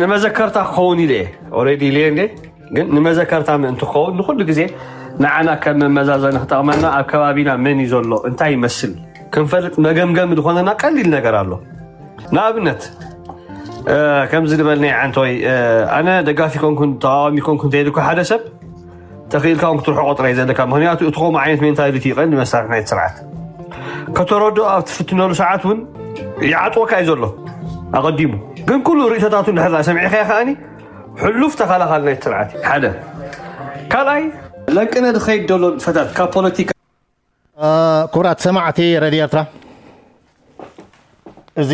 ንመዘከርታ ክኸውን ኢለ እየ። ኦሬዲ ኢለ እንዴ? ግን ንመዘከርታ ምእንቲ ክኸውን ንኹሉ ግዜ ንዓና ከም መመዛዘኒ ክጠቕመና ኣብ ከባቢና መን እዩ ዘሎ፣ እንታይ ይመስል ክንፈልጥ መገምገሚ ዝኾነና ቀሊል ነገር ኣሎ። ንኣብነት ከምዚ ዝበልናይ ዓንቶይ ኣነ ደጋፊ ኮንኩን ተቃዋሚ ኮንኩን ተይልኩ ሓደ ሰብ ተኽኢልካ እውን ክትርሕቆ ጥራይ ዘለካ። ምክንያቱ እቲ ከምኡ ዓይነት ሜንታሊቲ ይቐንዲ መሳርሒ ናይቲ ስርዓት ከተረድኦ ኣብ ትፍትነሉ ሰዓት እውን ይዓጥወካ እዩ ዘሎ ኣቐዲሙ። ግን ኩሉ ርእይቶታቱ እንድሕር ሰሚዕካዮ ከኣኒ ሕሉፍ ተኸላኻሊ ናይቲ ስርዓት እዩ ሓደ። ካልኣይ ለቅነ ዝኸይድ ዘሎ ንጥፈታት ካብ ፖለቲካ ክቡራት ሰማዕቲ ረድዮ ኤርትራ፣ እዚ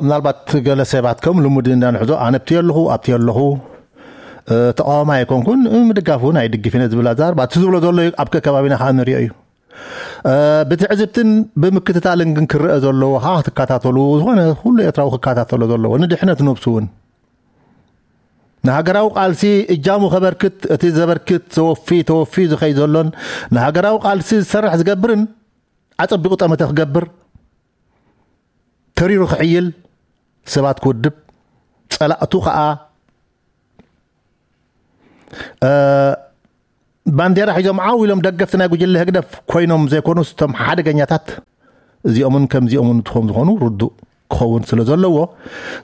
ምናልባት ገለ ሰባት ከም ልሙድ እንዳንሕዞ ኣነ ኣብቲ ኣለኹ ኣብቲ ኣለኹ ተቃዋሚ ኣይኮንኩን፣ ምድጋፍ እውን ኣይድግፍን ዝብል ኣዛርባ እቲ ዝብሎ ዘሎ ኣብ ከከባቢና ከዓ ንሪኦ እዩ። ብትዕዝብትን ብምክትታልን ግን ክረአ ዘለዎ ከዓ ክትከታተሉ፣ ዝኾነ ኩሉ ኤርትራዊ ክከታተሎ ዘለዎ ንድሕነት ነብሱ እውን ንሃገራዊ ቃልሲ እጃሙ ከበርክት፣ እቲ ዘበርክት ዘወፊ ተወፊ ዝኸይ ዘሎን ንሃገራዊ ቃልሲ ዝሰርሕ ዝገብርን ኣጸቢቑ ጠመተ ክገብር፣ ተሪሩ ክሕይል፣ ሰባት ክውድብ፣ ጸላእቱ ከኣ ባንዴራ ሒዞም ዓው ኢሎም ደገፍቲ ናይ ጉጅለ ህግደፍ ኮይኖም ዘይኮኑስ እቶም ሓደገኛታት እዚኦምን ከምዚኦምን ትኾም ዝኾኑ ርዱእ ክኸውን ስለ ዘለዎ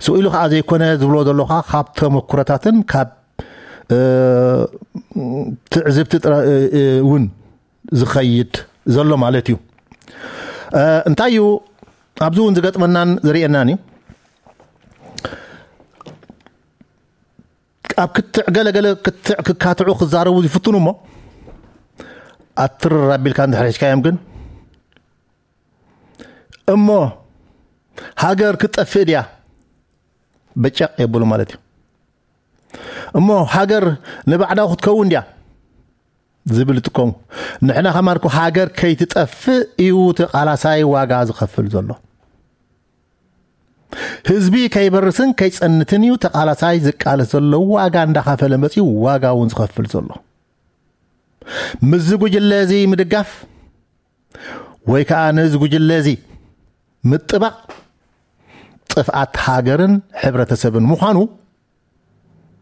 ስኡ ኢሉ ከዓ ዘይኮነ ዝብሎ ዘለኻ ካብ ተመኩረታትን ካብ ትዕዝብቲ እውን ዝኸይድ ዘሎ ማለት እዩ። እንታይ እዩ ኣብዚ እውን ዝገጥመናን ዝርእየናን እዩ። ኣብ ክትዕ ገለገለ ክትዕ ክካትዑ ክዛረቡ ይፍትኑ እሞ ኣትርር ኣቢልካ እንድሕር ሒዝካዮም ግን እሞ ሃገር ክትጠፍእ ድያ በጨቕ የብሉ ማለት እዩ። እሞ ሃገር ንባዕዳው ክትከውን ድያ ዝብል ይጥቀሙ። ንሕና ከማን እኮ ሃገር ከይትጠፍእ እዩ ተቓላሳይ ዋጋ ዝኸፍል ዘሎ። ህዝቢ ከይበርስን ከይጸንትን እዩ ተቓላሳይ ዝቃለስ ዘሎ፣ ዋጋ እንዳኸፈለ መጺኡ ዋጋ እውን ዝኸፍል ዘሎ። ምስዚ ጉጅለ እዚ ምድጋፍ ወይ ከዓ ነዚ ጉጅለ እዚ ምጥባቕ ጥፍኣት ሃገርን ሕብረተሰብን ምዃኑ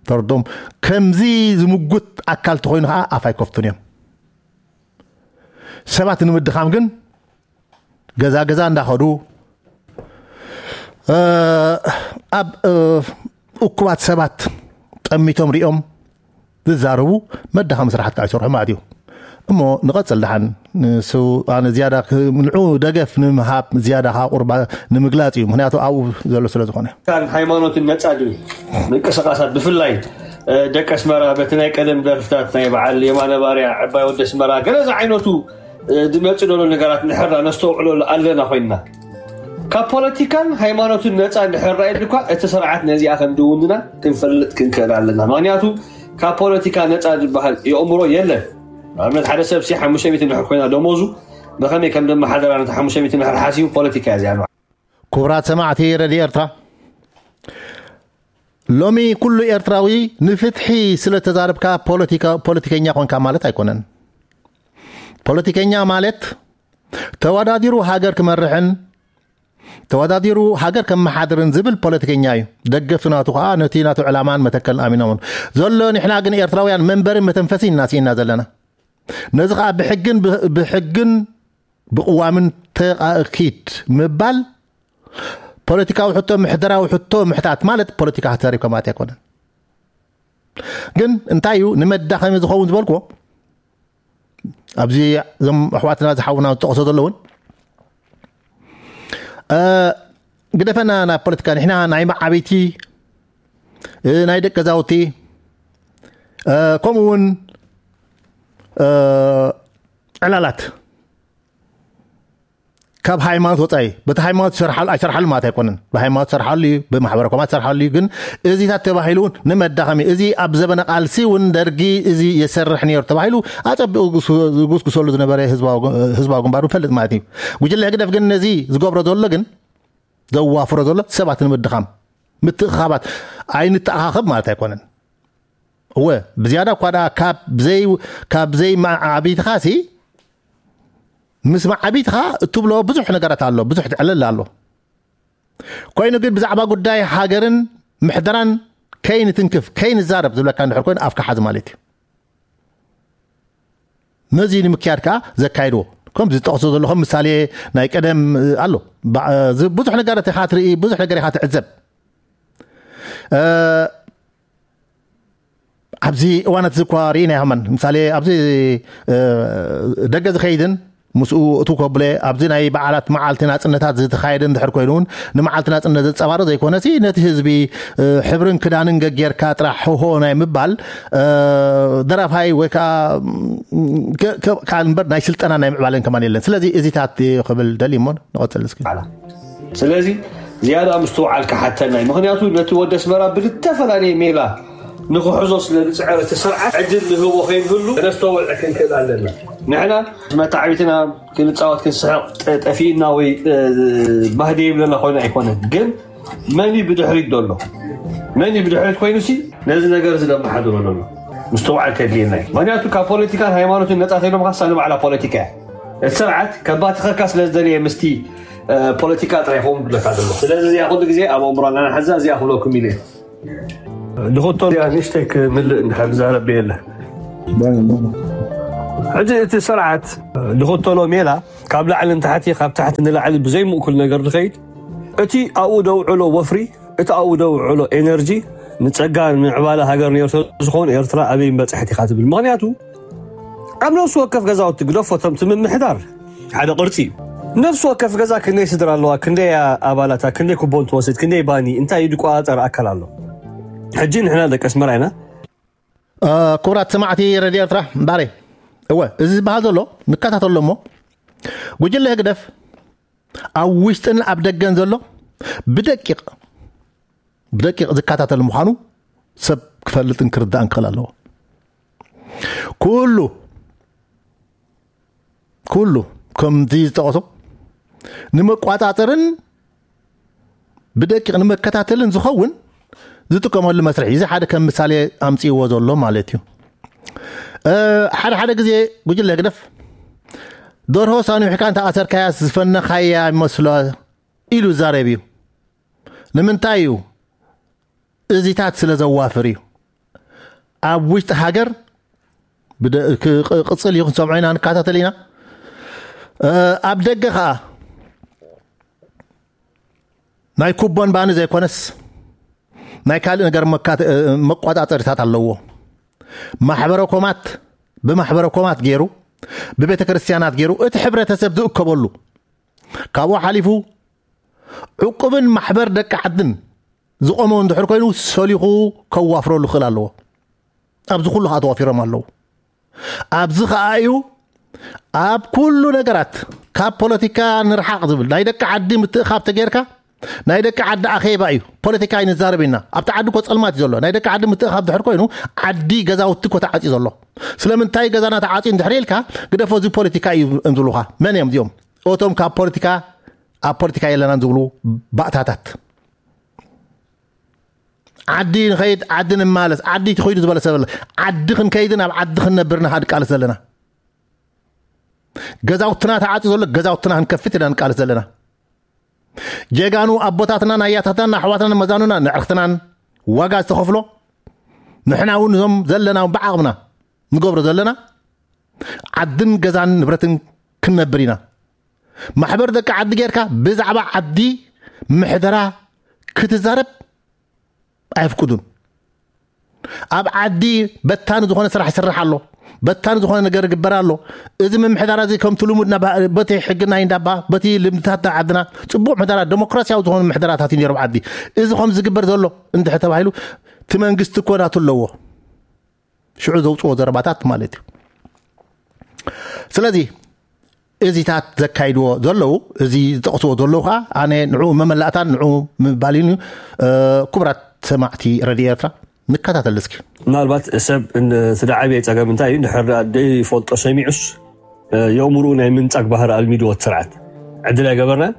ተርዶም። ከምዚ ዝምጉት ኣካል ተኾይኑ ከዓ ኣፍ ኣይከፍቱን እዮም። ሰባት ንምድኻም ግን ገዛ ገዛ እንዳኸዱ ኣብ እኩባት ሰባት ጠሚቶም ሪኦም ዝዛረቡ መዳኸሚ ስራሓት ከዓ ይሰርሑ ማለት እዩ። እሞ ንቐፅል ደሓን ንሱ ኣነ ዝያዳ ንዑ ደገፍ ንምሃብ ዝያዳ ከዓ ቁርባ ንምግላፅ እዩ። ምክንያቱ ኣብኡ ዘሎ ስለ ዝኾነ ሃይማኖትን ነፃ ድብል ምንቅስቃሳት ብፍላይ ደቂ ኣስመራ በቲ ናይ ቀደም ደርፍታት ናይ በዓል የማነ ባርያ ዕባይ ወዲ ኣስመራ ገለ ዝዓይነቱ ዝመፅእ ዘሎ ነገራት ንሕራ ነስተውዕለሉ ኣለና ኮይንና ካብ ፖለቲካን ሃይማኖትን ነፃ እንድሕር ራእየሉ እኳ እቲ ስርዓት ነዚኣ ከም ድውንና ክንፈልጥ ክንክእል ኣለና። ምክንያቱ ካብ ፖለቲካ ነፃ ዝበሃል የእምሮ የለን። ንኣብነት ሓደ ሰብ ሲ ሓሙሽተ ሚእቲ እንድሕር ኮይና ደሞዙ ብኸመይ ከም ደመሓደራ ነቲ ሓሙሽተ ሚእቲ እንድሕር ሓሲቡ ፖለቲካ እያ እዚኣ። ክቡራት ሰማዕቲ ረድዮ ኤርትራ፣ ሎሚ ኩሉ ኤርትራዊ ንፍትሒ ስለ ተዛረብካ ፖለቲከኛ ኮንካ ማለት ኣይኮነን። ፖለቲከኛ ማለት ተወዳዲሩ ሃገር ክመርሕን ተወዳዲሩ ሃገር ከመሓድርን ዝብል ፖለቲከኛ እዩ። ደገፍቲ ናቱ ከዓ ነቲ ናቱ ዕላማን መተከልን ኣሚኖም ዘሎ። ንሕና ግን ኤርትራውያን መንበርን መተንፈሲን እናስኢና ዘለና። ነዚ ከዓ ብሕግን ብሕግን ብቅዋምን ተኣኪድ ምባል ፖለቲካዊ ሕቶ ምሕደራዊ ሕቶ ምሕታት ማለት ፖለቲካ ተሪብካ ማለት ኣይኮነን። ግን እንታይ እዩ ንመዳኸሚ ዝኸውን ዝበልክዎ ኣብዚ እዞም ኣሕዋትና ዝሓውና ዝጠቕሶ ዘለውን ግደፈና ናብ ፖለቲካ ንሕና ናይ መዓበይቲ ናይ ደቂ ገዛውቲ ከምኡ እውን ዕላላት ካብ ሃይማኖት ወፃኢ በቲ ሃይማኖት ይሰርሓሉ ኣይሰርሓሉ ማለት ኣይኮነን። ብሃይማኖት ይሰርሓሉ እዩ፣ ብማሕበረ ኮማት ይሰርሓሉ እዩ። ግን እዚታት ተባሂሉ እውን ንመዳኸሚ እዚ ኣብ ዘበነ ቃልሲ እውን ደርጊ እዚ የሰርሕ ነይሩ ተባሂሉ ኣፀቢቑ ዝጉስጉሰሉ ዝነበረ ህዝባዊ ግንባር ንፈልጥ ማለት እዩ። ጉጅለ ህግደፍ ግን ነዚ ዝገብሮ ዘሎ ግን ዘዋፍሮ ዘሎ ሰባት ንምድኻም ምትእኻባት ኣይንተኣኻኸብ ማለት ኣይኮነን። እወ ብዝያዳ እኳ ደኣ ካብ ዘይ ካብ ዘይ ማዓቢትኻሲ ምስ ማዓቢትኻ እትብሎ ብዙሕ ነገራት ኣሎ፣ ብዙሕ ትዕልል ኣሎ። ኮይኑ ግን ብዛዕባ ጉዳይ ሃገርን ምሕደራን ከይንትንክፍ ከይንዛረብ ዝብለካ እንድሕር ኮይኑ ኣፍካ ሓዝ ማለት እዩ። ነዚ ንምክያድ ከዓ ዘካይድዎ ከም ዝጠቕሶ ዘሎ ከም ምሳሌ ናይ ቀደም ኣሎ። ብዙሕ ነገር ኢኻ ትርኢ፣ ብዙሕ ነገር ኢኻ ትዕዘብ። ኣብዚ እዋናት እዚ እኳ ርኢና ይሃመን ምሳሌ ኣብዚ ደገ ዝኸይድን ምስኡ እቲ ኮብለ ኣብዚ ናይ በዓላት መዓልቲ ናፅነታት ዝተኻየደ እንድሕር ኮይኑ እውን ንመዓልቲ ናፅነት ዘፀባርቕ ዘይኮነሲ ነቲ ህዝቢ ሕብርን ክዳንን ገጌርካ ጥራሕ ሆሆ ናይ ምባል ደራፋይ ወይ ከዓ ካልእ እምበር ናይ ስልጠና ናይ ምዕባለን ከማን የለን። ስለዚ እዚታት ክብል ደልዩ እሞ ንቐፅል እስኪ። ስለዚ ዝያዳ ምስትውዓል ክሓተና እዩ። ምክንያቱ ነቲ ወዲ ኣስመራ ብዝተፈላለየ ሜላ ንክሕዞ ስለ ዝፅዕር እቲ ስርዓት ዕድል ንህቦ ከይንህሉ ነስተውዕ ክንክእል ኣለና። ንሕና መታዕቢትና ክንፃወት ክንስሕቕ ጠፊእና ወይ ባህደ ይብለና ኮይኑ ኣይኮነን። ግን መን እዩ ብድሕሪት ዘሎ? መን እዩ ብድሕሪት ኮይኑ ሲ ነዚ ነገር እዚ ደመሓድሮ ዘሎ ምስትውዓል ከድልየና እዩ። ምክንያቱ ካብ ፖለቲካን ሃይማኖትን ነፃ ተይሎም ካሳ ንባዕላ ፖለቲካ እያ። እቲ ስርዓት ከባትኸካ ስለ ዝደለየ ምስቲ ፖለቲካ ጥራይ ይኸውን ብለካ ዘሎ። ስለዚ እዚኣ ኩሉ ግዜ ኣብ ኣእምሮና ንሓዛ እዚኣ ክብለኩም ኢለ። ድኽቶ ንእሽተይ ክምልእ እንድሕር ዝዛረብ የለ። ሕጂ እቲ ስርዓት ድኽተሎ ሜላ ካብ ላዕሊ ንታሕቲ ካብ ታሕቲ ንላዕሊ ብዘይምእኩል ነገር ዝኸይድ እቲ ኣብኡ ደውዕሎ ወፍሪ እቲ ኣብኡ ደውዕሎ ኤነርጂ ንፀጋ ንምዕባለ ሃገር ነይሩ ስለዝኾን ኤርትራ ኣበይ በፅሐት ኢኻ ትብል። ምክንያቱ ኣብ ነፍሲ ወከፍ ገዛውቲ ግደፎ እቶም እቲ ምምሕዳር ሓደ ቅርፂ እዩ። ነፍሲ ወከፍ ገዛ ክንደይ ስድራ ኣለዋ፣ ክንደይ ኣባላታ፣ ክንደይ ኩቦን ትወስድ፣ ክንደይ ባኒ እንታይ እዩ ዝቆፃፀር ኣካል ኣሎ። ሕጂ ንሕና ደቂ ኣስመራ ኢና። ክቡራት ሰማዕቲ ረድዮ ኤርትራ እምበኣረይ እወ እዚ ዝበሃል ዘሎ ንከታተሎ እሞ ጉጅለ ህግደፍ ኣብ ውሽጥን ኣብ ደገን ዘሎ ብደቂቕ ብደቂቕ ዝከታተል ምዃኑ ሰብ ክፈልጥን ክርዳእን ክኽእል ኣለዎ። ኩሉ ኩሉ ከምዚ ዝጠቐሶ ንመቋፃፀርን ብደቂቕ ንመከታተልን ዝኸውን ዝጥቀመሉ መስርሕ እዚ ሓደ ከም ምሳሌ ኣምፅእዎ ዘሎ ማለት እዩ። ሓደ ሓደ ግዜ ጉጅለ ህግደፍ ደርሆ ሳኒሕካ እንተኣሰርካያ ዝፈነኻያ ይመስሎ ኢሉ ይዛረብ እዩ። ንምንታይ እዩ? እዚታት ስለ ዘዋፍር እዩ። ኣብ ውሽጢ ሃገር ቅፅል እዩ ክንሰምዖ ኢና ንከታተል ኢና። ኣብ ደገ ከዓ ናይ ኩቦን ባኒ ዘይኮነስ ናይ ካልእ ነገር መቋፃፀሪታት ኣለዎ። ማሕበረ ኮማት ብማሕበረ ኮማት ገይሩ ብቤተ ክርስቲያናት ገይሩ እቲ ሕብረተሰብ ዝእከበሉ ካብኡ ሓሊፉ ዕቁብን ማሕበር ደቂ ዓድን ዝቆመ እንድሕር ኮይኑ ሰሊኹ ከዋፍረሉ ክእል ኣለዎ። ኣብዚ ኩሉ ከዓ ተዋፊሮም ኣለዉ። ኣብዚ ከዓ እዩ ኣብ ኩሉ ነገራት ካብ ፖለቲካ ንርሓቕ ዝብል ናይ ደቂ ዓዲ ምትእኻብ ተጌርካ ናይ ደቂ ዓዲ ኣኼባ እዩ። ፖለቲካ ኣይንዛረብ ኢና። ኣብቲ ዓዲ እኮ ፀልማት እዩ ዘሎ። ናይ ደቂ ዓዲ ምትእኻብ ድሕር ኮይኑ ዓዲ ገዛውቲ እኮ ተዓፅዩ ዘሎ። ስለምንታይ ገዛና ተዓፅዩ እንድሕር ኢልካ ግደፎ እዚ ፖለቲካ እዩ ዝብሉኻ። መን እዮም እዚኦም? እቶም ካብ ፖለቲካ ኣብ ፖለቲካ የለናን ዝብሉ ባእታታት። ዓዲ ንኸይድ ዓዲ ንማለስ ዓዲ ትኸይዱ ዝበለ ሰብ ዓዲ ክንከይድን ኣብ ዓዲ ክንነብርና ንቃለስ ዘለና። ገዛውትና ተዓፂ ዘሎ ገዛውትና ክንከፍት ኢና ንቃለስ ዘለና። ጀጋኑ ኣቦታትናን ኣያታትናን ኣሕዋትናን መዛኑና ንዕርክትናን ዋጋ ዝተኸፍሎ ንሕና እውን እዞም ዘለና እውን ብዓቕምና ንገብሮ ዘለና ዓድን ገዛን ንብረትን ክንነብር ኢና። ማሕበር ደቂ ዓዲ ጌርካ ብዛዕባ ዓዲ ምሕደራ ክትዛረብ ኣየፍቅዱን። ኣብ ዓዲ በታኒ ዝኾነ ስራሕ ይስራሕ ኣሎ፣ በታኒ ዝኾነ ነገር ይግበር ኣሎ። እዚ ምምሕዳር እዚ ከምቲ ልሙድ በቲ ሕጊ ናይ እንዳባ በቲ ልምድታት ናይ ዓድና ፅቡቕ ምሕደራ ደሞክራሲያዊ ዝኾነ ምሕደራታት እዩ ነይሩ ዓዲ። እዚ ከም ዝግበር ዘሎ እንድሕር ተባሂሉ እቲ መንግስቲ እኮ ናቱ ኣለዎ። ሽዑ ዘውፅዎ ዘረባታት ማለት እዩ። ስለዚ እዚታት ዘካይድዎ ዘለዉ እዚ ዝጠቕስዎ ዘለዉ ከዓ ኣነ ንዕኡ መመላእታን ንዕኡ ምባልን እዩ። ክቡራት ሰማዕቲ ረድዮ ኤርትራ ንከታተል እስኪ። ምናልባት ሰብ እቲ ዝዓበየ ፀገም እንታይ እዩ? እንድሕር ደኣ ዘይፈልጦ ሰሚዑስ የእምርኡ ናይ ምንጻግ ባህሪ ኣልሚድዎ እቲ ስርዓት። ዕድል ኣይገበርናን።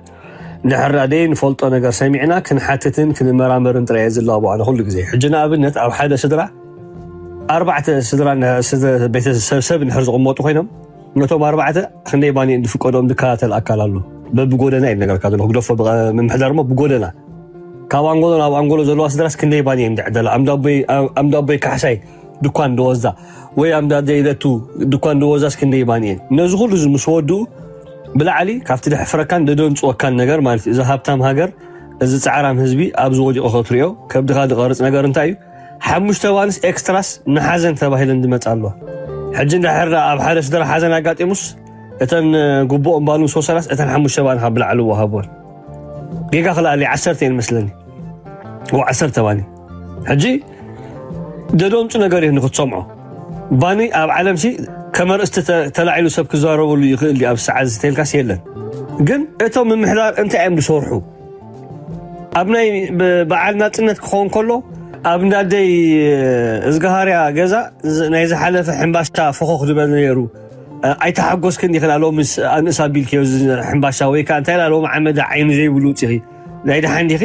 እንድሕር ደኣ ዘይንፈልጦ ነገር ሰሚዕና ክንሓትትን ክንመራመርን ጥራይ እየ ዝላቦ ኣነ ኩሉ ግዜ። ሕጂ ንኣብነት ኣብ ሓደ ስድራ ኣርባዕተ ስድራ ቤተሰብ ሰብ እንድሕር ዝቕመጡ ኮይኖም ነቶም ኣርባዕተ ክንደይ ባኒ ዝፍቀዶም ዝከታተል ኣካል ኣሎ። በብጎደና እዩ ነገርካ ዘሎ ክግደፎ ምምሕዳር እሞ ብጎደና ካብ ኣንጎሎ ናብ ኣንጎሎ ዘለዋ ስድራስ ክንደይ ባኒ እየን ዝዕደላ? ኣምዳቦይ ኣምዳቦይ ካሕሳይ ድኳን ደወዛ ወይ ኣምዳደይ ለቱ ድኳን ደወዛስ ክንደይ ባኒ እየን? ነዚ ኩሉ እዚ ምስ ወድኡ ብላዕሊ ካብቲ ደሕፍረካን ደደንጽወካን ነገር ማለት እዩ። እዚ ሃብታም ሃገር፣ እዚ ጻዕራም ህዝቢ ኣብዚ ወዲቑ ክትሪኦ ከብድኻ ዝቐርጽ ነገር እንታይ እዩ? ሓሙሽተ ባንስ ኤክስትራስ ንሓዘን ተባሂለን ዝመጻ ኣለዋ። ሕጂ እንድሕር ኣብ ሓደ ስድራ ሓዘን ኣጋጢሙስ እተን ግቡኦም ባሉን ሶሰራስ እተን ሓሙሽተ ባንኻ ብላዕሊ ወሃቦን። ጌጋ ክልኣሊ ዓሰርተ እየን መስለኒ። ወ ዓሰርተ ባኒ። ሕጂ ደደምፁ ነገር እዩ ንክትሰምዖ። ባኒ ኣብ ዓለም ሲ ከመርእስቲ ተላዒሉ ሰብ ክዛረበሉ ይኽእል እዩ። ኣብ ሰዓት ዝተልካስ የለን። ግን እቶም ምምሕዳር እንታይ እዮም ዝሰርሑ? ኣብ ናይ በዓል ናፅነት ክኸውን ከሎ ኣብ እንዳደይ እዝጋሃርያ ገዛ ናይ ዝሓለፈ ሕምባሻ ፈኾኽ ዝበለ ነይሩ። ኣይተሓጎስክን ዲኺ ሎሚ ኣንእስ ኣቢልክዮ እዚ ሕምባሻ ወይ ከዓ እንታይ ሎሚ ዓመዳ ዓይኒ ዘይብሉ ውፅኺ ናይ ደሓን ዲኺ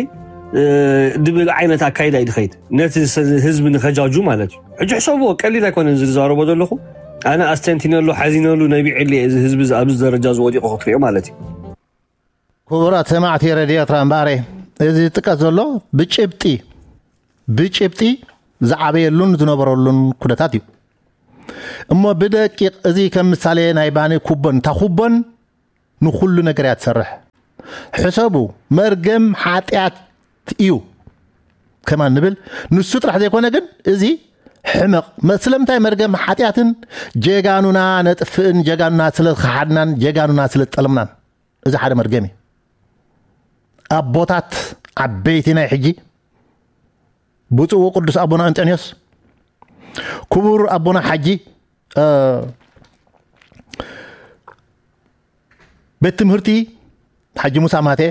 ድብል ዓይነት ኣካይዳ እዩ ድኸይድ ነቲ ህዝቢ ንኸጃጁ ማለት እዩ። ሕጂ ሕሰብዎ፣ ቀሊል ኣይኮነን ዝዛረቦ ዘለኹ። ኣነ ኣስተንቲነሉ ሓዚነሉ ነቢዕሊ እዚ ህዝቢ ኣብዚ ደረጃ ዝወዲቑ ክትሪኦ ማለት እዩ። ክቡራት ሰማዕቲ ረድዮ ኤርትራ እምበኣረ፣ እዚ ዝጥቀስ ዘሎ ብጭብጢ ብጭብጢ ዝዓበየሉን ዝነበረሉን ኩነታት እዩ። እሞ ብደቂቕ እዚ ከም ምሳሌ ናይ ባኒ ኩቦን፣ እታ ኩቦን ንኹሉ ነገር እያ ትሰርሕ። ሕሰቡ፣ መርገም ሓጢኣት እዩ ከማን ንብል። ንሱ ጥራሕ ዘይኮነ ግን እዚ ሕመቕ መ- ስለምንታይ መርገም ሓጢኣትን ጀጋኑና ነጥፍእን ጀጋኑና ስለ ዝኸሓድናን ጀጋኑና ስለ ዝጠለምናን። እዚ ሓደ መርገም እዩ። ኣቦታት ዓበይቲ ናይ ሕጂ ብፁዕ ወቅዱስ ኣቦና እንጠንዮስ፣ ክቡር ኣቦና ሓጂ ቤት ትምህርቲ ሓጂ ሙሳ ማቴ፣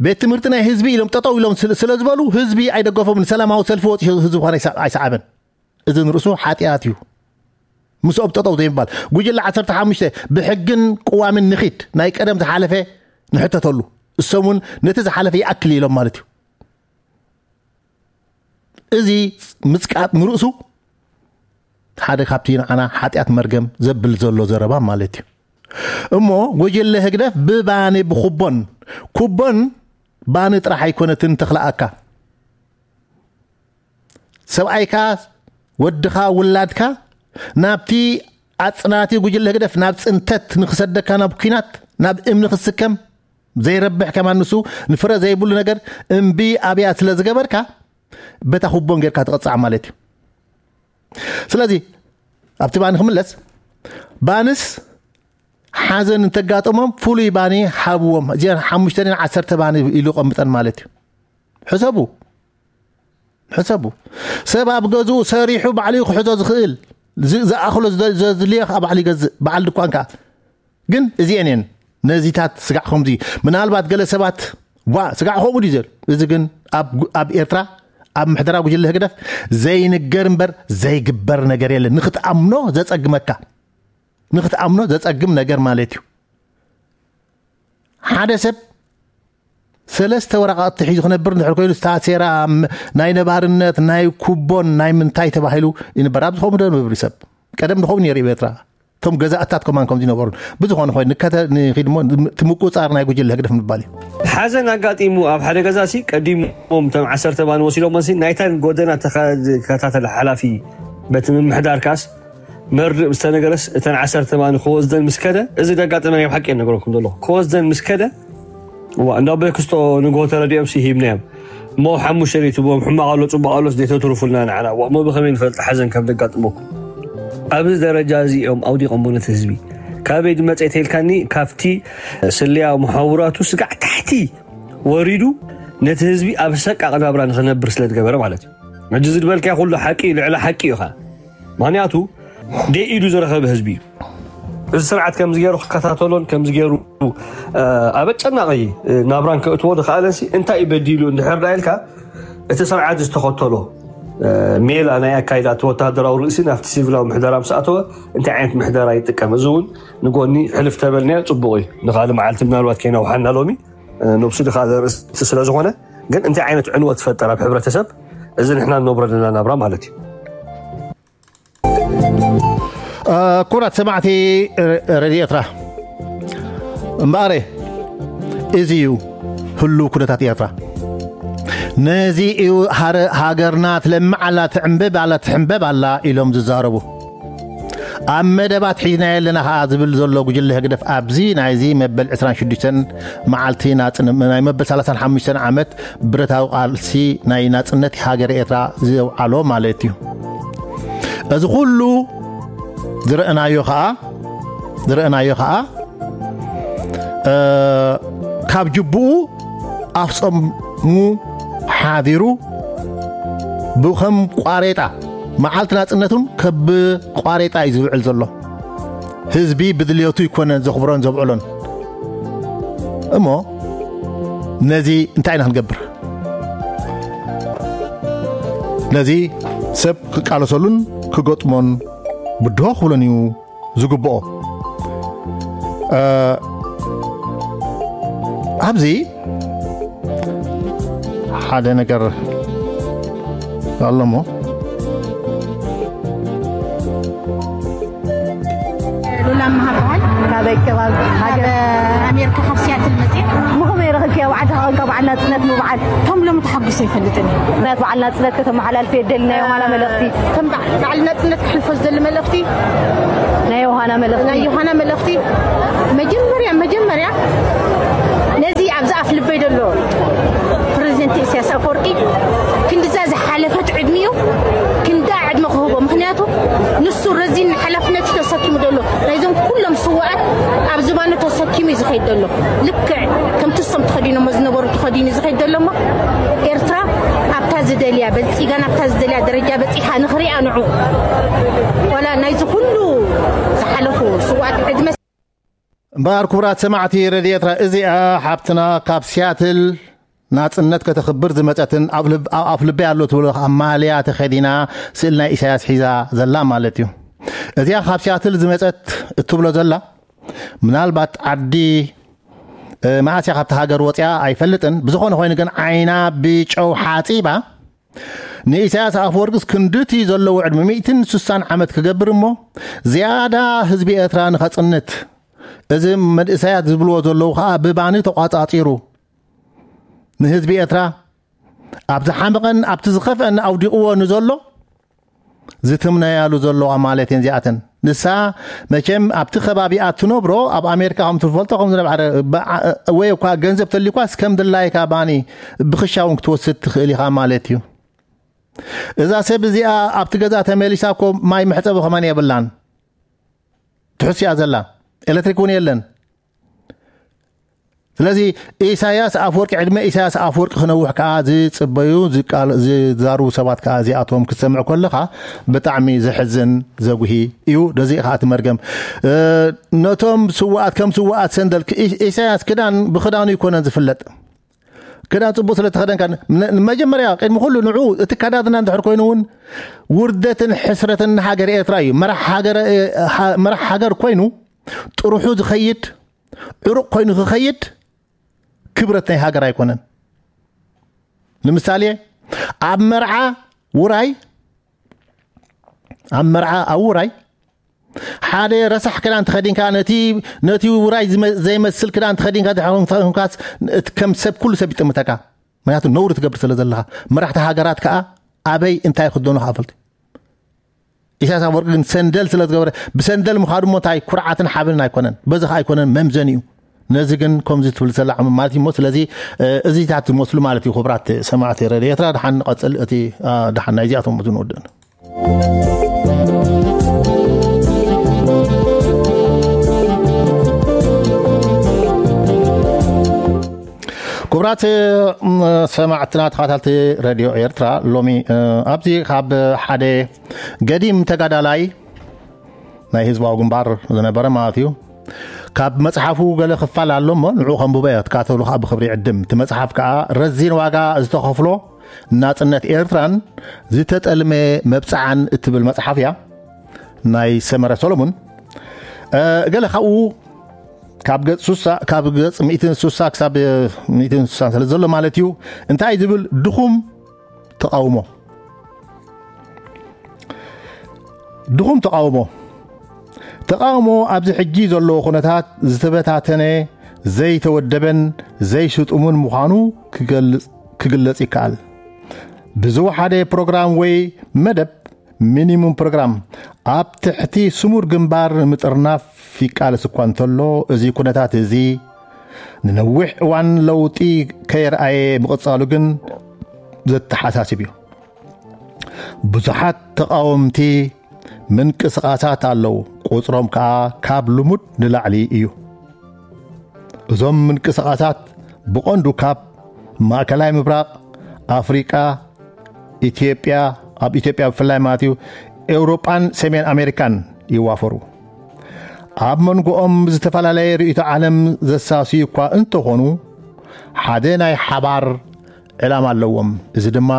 ቤት ትምህርቲ ናይ ህዝቢ ኢሎም ጠጠው ኢሎም ስለ ዝበሉ ህዝቢ ኣይደገፎም። ንሰላማዊ ሰልፊ ወፂ ህዝቢ ኳን ኣይሰዓበን። እዚ ንርእሱ ሓጢኣት እዩ። ምስኦም ጠጠው ዘይምባል። ጉጅለ ዓሰርተ ሓሙሽተ ብሕግን ቅዋምን ንኺድ፣ ናይ ቀደም ዝሓለፈ ንሕተተሉ፣ እሶም እውን ነቲ ዝሓለፈ ይኣክል ኢሎም ማለት እዩ። እዚ ምጽቃጥ ንርእሱ ሓደ ካብቲ ንዓና ሓጢኣት መርገም ዘብል ዘሎ ዘረባ ማለት እዩ። እሞ ጉጅለ ህግደፍ ብባኒ ብኩቦን፣ ኩቦን ባኒ ጥራሕ ኣይኮነትን ተኽልኣካ፣ ሰብኣይካ፣ ወድኻ፣ ውላድካ ናብቲ ኣጽናቲ ጉጅለ ህግደፍ ናብ ጽንተት ንክሰደካ፣ ናብ ኲናት፣ ናብ እምኒ ክስከም ዘይረብሕ ከማን ንሱ ንፍረ ዘይብሉ ነገር እምቢ ኣብያ ስለ ዝገበርካ በታ ኩቦን ጌርካ ትቕጻዕ ማለት እዩ። ስለዚ ኣብቲ ባኒ ክምለስ፣ ባንስ ሓዘን እንተጋጠሞም ፍሉይ ባኒ ሓብዎም። እዚኣን ሓሙሽተ ዓሰርተ ባኒ ኢሉ ቀምጠን ማለት እዩ። ሕሰቡ ሕሰቡ ሰብ ኣብ ገዝኡ ሰሪሑ ባዕሉ ክሕዞ ዝኽእል ዝኣኽሎ ዘድልዮ ከዓ ባዕሉ ይገዝእ፣ በዓል ድኳን ከዓ። ግን እዚአን እየን ነዚታት ስጋዕ ከምዚ። ምናልባት ገለ ሰባት ዋ ስጋዕ ከምኡ ድዩ ዘሉ። እዚ ግን ኣብ ኤርትራ ኣብ ምሕደራ ጉጅለ ህግደፍ ዘይንገር እምበር ዘይግበር ነገር የለን። ንክትኣምኖ ዘፀግመካ ንክትኣምኖ ዘፀግም ነገር ማለት እዩ። ሓደ ሰብ ሰለስተ ወረቓቕቲ ሒዙ ክነብር እንድሕር ኮይኑ፣ ስታሴራ ናይ ነባርነት ናይ ኩቦን ናይ ምንታይ ተባሂሉ ይንበር። ኣብዚ ከምኡ ዶ ነብሪ ሰብ ቀደም ንኸምኡ ነይሩ እዩ ኤርትራ። እቶም ገዛእታት ከማን ከምዚ ነበሩ። ብዝኾነ ኮይኑ ንከተ ንኺድ እሞ እቲ ምቁፃር ናይ ጉጅለ ህግደፍ ምባል እዩ። ሓዘን ኣጋጢሙ ኣብ ሓደ ገዛ ሲ ቀዲሞም እቶም ዓሰርተ ባኒ ወሲዶም ሲ ናይታን ጎደና ተኸታተለ ሓላፊ በቲ ምምሕዳር ካስ መርድእ ዝተነገረስ እተን ዓሰርተ ማኒ ክወስደን ምስ ከደ፣ እዚ ደጋጠመ ናይ ሓቂ እየ ነገረኩም ዘለኹ። ክወስደን ምስ ከደ፣ እዋ እንዳ ኣቦይ ክስቶ ንግሆ ተረዲኦም ሲ ሂብናዮም። እሞ ሓሙሽተ ደይትብዎም ሕማቕ ኣሎ ጽቡቕ ኣሎስ ደይተትርፉልና ንዓና። እዋ እሞ ብኸመይ ንፈልጥ ሓዘን ከም ደጋጥመኩም? ኣብዚ ደረጃ እዚ እዮም ኣውዲቖሞ ነቲ ህዝቢ። ካበይ ድመጸ ተልካኒ? ካብቲ ስለያ መሓውራቱ ስጋዕ ታሕቲ ወሪዱ ነቲ ህዝቢ ኣብ ሰቃቕ ናብራ ንኽነብር ስለ ዝገበረ ማለት እዩ። ሕጂ እዚ ዝበልካዮ ኩሉ ሓቂ ልዕሊ ሓቂ እዩ ኸኣ። ምኽንያቱ ደይ ኢዱ ዝረኸበ ህዝቢ እዩ። እዚ ስርዓት ከምዚ ገይሩ ክከታተሎን ከምዚ ገይሩ ኣብ ኣጨናቒ ናብራን ከእትዎ ዝኸኣለንሲ እንታይ እዩ በዲሉ እንድሕር ዳ ኢልካ እቲ ስርዓት ዝተኸተሎ ሜላ ናይ ኣካይዳ እቲ ወታደራዊ ርእሲ ናብቲ ሲቪላዊ ምሕደራ ምስ ኣተወ እንታይ ዓይነት ምሕደራ ይጥቀም? እዚ እውን ንጎኒ ሕልፍ ተበልናዮ ጽቡቕ እዩ። ንኻልእ መዓልቲ ምናልባት ከይነውሓና ሎሚ ነብሱ ድኻ ዘርእስቲ ስለ ዝኾነ ግን እንታይ ዓይነት ዕንወት ትፈጠር ኣብ ሕብረተሰብ እዚ ንሕና ንነብሮ ዘለና ናብራ ማለት እዩ። ኩራት ሰማዕቲ ረድዮ ኤርትራ እምበኣረ እዚ እዩ ህሉ ኩነታት ኤርትራ። ነዚ እዩ ሃረ-፣ ሃገርና ትለምዕ ኣላ፣ ትዕንብብ ኣላ፣ ትሕንበብ ኣላ ኢሎም ዝዛረቡ። ኣብ መደባት ሒዝናዮ ኣለና ከኣ ዝብል ዘሎ ጉጅለ ህግደፍ፣ ኣብዚ ናይዚ መበል ዕስራን ሽዱሽተን መዓልቲ ናጽን-፣ ናይ መበል ሰላሳን ሓሙሽተን ዓመት ብረታዊ ቃልሲ ናይ ናጽነት ሃገር ኤርትራ ዘውዓሎ ማለት እዩ። እዚ ኩሉ ዝረእናዮ ከኣ፣ ዝረእናዮ ከኣ፣ እ፣ ካብ ጅቡኡ ኣፍጸሙ ሓዲሩ ብኸም ቋሬጣ፣ መዓልቲ ናጽነቱን ከብ ቋሬጣ እዩ ዝውዕል ዘሎ። ህዝቢ ብድልየቱ ይኮነን ዘኽብሮን ዘብዕሎን። እሞ ነዚ እንታይ ኢና ክንገብር? ነዚ ሰብ ክቃለሰሉን ክገጥሞን ብድሆ ክብሎን እዩ ዝግብኦ። እ፣ ኣብዚ ሓደ ነገር ኣሎ እሞ። ሉላ መሃባል። ካበይ ከባቢ? ሃገር? ካብ ኣሜሪካ ካብ ሲያትል መፅእ። ምኹመይ ረኽብኪ ኣብ ዓዲ ኸቐን ካብ በዓል ናፅነት ምበዓል? ከም ሎሚ ተሓጉሰ ይፈልጥን። ምክንያት በዓል ናፅነት ከተመሓላልፊ የደልናዮ ማና መልእኽቲ? ከም በዓል ናፅነት ክሕልፎ ዝደሊ መልእኽቲ? ናይ ዮሃና መልእኽቲ? ናይ ዮሃና መልእኽቲ? መጀመርያ፣ መጀመርያ ነዚ ኣብዚ ኣፍ ልበይ ዘሎ ፕሬዚደንት ኢሳያስ ኣፈወርቂ ክንድዛ ዝሓለፈት ዕድሚኡ ክንዳ ዕድመ ክህቦ። ምክንያቱ ንሱ ረዚን ሓላፍነት ተሰኪሙ ዘሎ ናይዞም ኩሎም ስዋኣት ኣብ ዝባኑ ተሰኪሙ እዩ ዝኸይድ ዘሎ። ልክዕ ከምቲ እሶም ተኸዲኖሞ ዝነበሩ ተኸዲኑ ዝኸይድ ዘሎ እሞ ኤርትራ ኣብታ ዝደልያ በልጺጋ ናብታ ዝደልያ ደረጃ በጺሓ ንኽሪኣ ንዑ ዋላ ናይዚ ኩሉ ዝሓለፉ ስዋኣት ዕድመ እምበኣር ክቡራት ሰማዕቲ ረድዮ ኤርትራ፣ እዚኣ ሓብትና ካብ ሲያትል ናጽነት ከተኽብር ዝመጸትን ኣብ ልብ-፣ ኣብ ኣፍ ልበይ ኣሎ ትብሎ ከኣ ማልያ ተኸዲና ስእሊ ናይ ኢሳያስ ሒዛ ዘላ ማለት እዩ። እዚኣ ካብ ሲያትል ዝመጸት እትብሎ ዘላ ምናልባት ዓዲ፣ እ፣ መዓስ እያ ካብቲ ሃገር ወጺኣ ኣይፈልጥን። ብዝኾነ ኮይኑ ግን ዓይና ብጨው ሓጺባ ንኢሳያስ ኣፈወርቅስ ክንድቲ ዘለዎ ዕድመ ሚእትን ስሳን ዓመት ክገብር እሞ ዝያዳ ህዝቢ ኤርትራ ንኸጽንት፣ እዚ መንእሰያት ዝብልዎ ዘለዉ ኸኣ ብባኒ ተቋጻጺሩ ንህዝቢ ኤርትራ ኣብ ዝሓመቐን ኣብቲ ዝኸፍአን ኣውዲቕዎ ንዘሎ ዝትምነያሉ ዘለዋ ማለት እየን እዚኣተን። ንሳ መቸም ኣብቲ ከባቢኣ ትነብሮ ኣብ ኣሜሪካ ከም ትፈልጦ ከም ዝነበረ በዓ-፣ ወይ እኳ ገንዘብ ተልኳስ ከም ድላይካ ባኒ ብኽሻ እውን ክትወስድ ትኽእል ኢኻ ማለት እዩ። እዛ ሰብ እዚኣ ኣብቲ ገዛ ተመሊሳ እኮ ማይ መሕጸቢ ከማን የብላን። ትሕስያ ዘላ ኤሌክትሪክ እውን የለን። ስለዚ ኢሳያስ ኣፈወርቂ፣ ዕድመ ኢሳያስ ኣፈወርቂ ክነውሕ ከኣ ዝጽበዩ ዝቃል-፣ ዝዛርቡ ሰባት ከኣ እዚኣቶም ክትሰምዕ ከለኻ ብጣዕሚ ዘሕዝን ዘጉሂ እዩ። ደዚ ከኣ እቲ መርገም፣ እ፣ ነቶም ስውኣት ከም ስውኣት ሰንደል ክ-፣ ኢ-፣ ኢሳያስ ክዳን ብክዳኑ ይኮነን ዝፍለጥ። ክዳን ጽቡቕ ስለ ተኸደንካ ን-፣ ንመጀመርያ ቅድሚ ኩሉ ንዑ እቲ ከዳድና እንድሕር ኮይኑ እውን ውርደትን ሕስረትን ንሃገር ኤርትራ እዩ። መራሕ ሃገረ-፣ እ፣ ሃ-፣ መራሕ ሃገር ኮይኑ ጥርሑ ዝኸይድ ዕሩቕ ኮይኑ ክኸይድ ክብረት ናይ ሃገር ኣይኮነን። ንምሳሌ ኣብ መርዓ ውራይ፣ ኣብ መርዓ ኣብ ውራይ ሓደ ረሳሕ ክዳን ተኸዲንካ ነቲ፣ ነቲ ውራይ ዝመ-፣ ዘይመስል ክዳን ተኸዲንካ ድሕር ኮንካስ እቲ ከም ሰብ ኩሉ ሰብ ይጥምተካ። ምክንያቱ ነውሪ ትገብር ስለ ዘለኻ። መራሕቲ ሃገራት ከኣ ኣበይ እንታይ ክደኑ ከኣ ፈልጡ። ኢሳያስ ኣፈወርቂ ግን ሰንደል ስለ ዝገበረ፣ ብሰንደል ምኻዱ እሞ እንታይ ኩርዓትን ሓበንን ኣይኮነን። በዚ ከኣ ኣይኮነን መምዘኒ እዩ። ነዚ ግን ከምዚ ትብል ዘላ ዓመት ማለት እዩ እሞ፣ ስለዚ፣ እ፣ እዚታት ዝመስሉ ማለት እዩ። ክቡራት ሰማዕቲ ረድዮ ኤርትራ፣ ደሓን ንቐጽል። እቲ፣ አ፣ ደሓን ናይ እዚኣቶም ዝንወድእን። ክቡራት፣ ም፣ ሰማዕትና ተኸታተልቲ ረድዮ ኤርትራ፣ ሎሚ፣ እ፣ ኣብዚ ካብ ሓደ ገዲም ተጋዳላይ ናይ ህዝባዊ ግንባር ዝነበረ ማለት እዩ። ካብ መጽሓፉ ገለ ክፋል ኣሎ እሞ ንዕኡ ከንብቦ እየ፣ ክትከታተሉ ከኣ ብኽብሪ ይዕድም። እቲ መጽሓፍ ከኣ ረዚን ዋጋ ዝተኸፍሎ ናጽነት ኤርትራን ዝተጠልመ መብጽዓን እትብል መጽሓፍ እያ፣ ናይ ሰመረ ሰሎሙን። እ፣ ገለ ካብኡ ካብ ገጽ ሱሳ፣ ካብ ገጽ ሚእትን ሱሳ ክሳብ ሚእትን ሱሳ ስለ ዘሎ ማለት እዩ። እንታይ ዝብል ድኹም ተቓውሞ። ድኹም ተቓውሞ። ተቓውሞ ኣብዚ ሕጂ ዘለዎ ኩነታት ዝተበታተነ፣ ዘይተወደበን ዘይስጡምን ምዃኑ ክገልጽ፣ ክ፣ ክግለጽ ይከኣል። ብዝወሓደ ፕሮግራም ወይ መደብ፣ ሚኒሙም ፕሮግራም፣ ኣብ ትሕቲ ስሙር ግንባር ንምጥርናፍ ይቃለስ እኳ እንተሎ፣ እዚ ኩነታት እዚ ንነዊሕ እዋን ለውጢ ከየርኣየ ምቕጻሉ ግን ዘተሓሳስብ እዩ። ብዙሓት ተቓወምቲ ምንቅስቓሳት ኣለዉ፣ ቁጽሮም ከኣ ካብ ልሙድ ንላዕሊ እዩ። እዞም ምንቅስቓሳት ብቐንዱ ካብ ማእከላይ ምብራቕ፣ ኣፍሪቃ፣ ኢትዮጵያ፣ ኣብ ኢትዮጵያ ብፍላይ ማለት እዩ፣ ኤውሮጳን ሰሜን ኣሜሪካን ይዋፈሩ። ኣብ መንጎኦም ዝተፈላለየ ርእይቶ ዓለም ዘሳስዩ እኳ እንተኾኑ፣ ሓደ ናይ ሓባር ዕላማ ኣለዎም። እዚ ድማ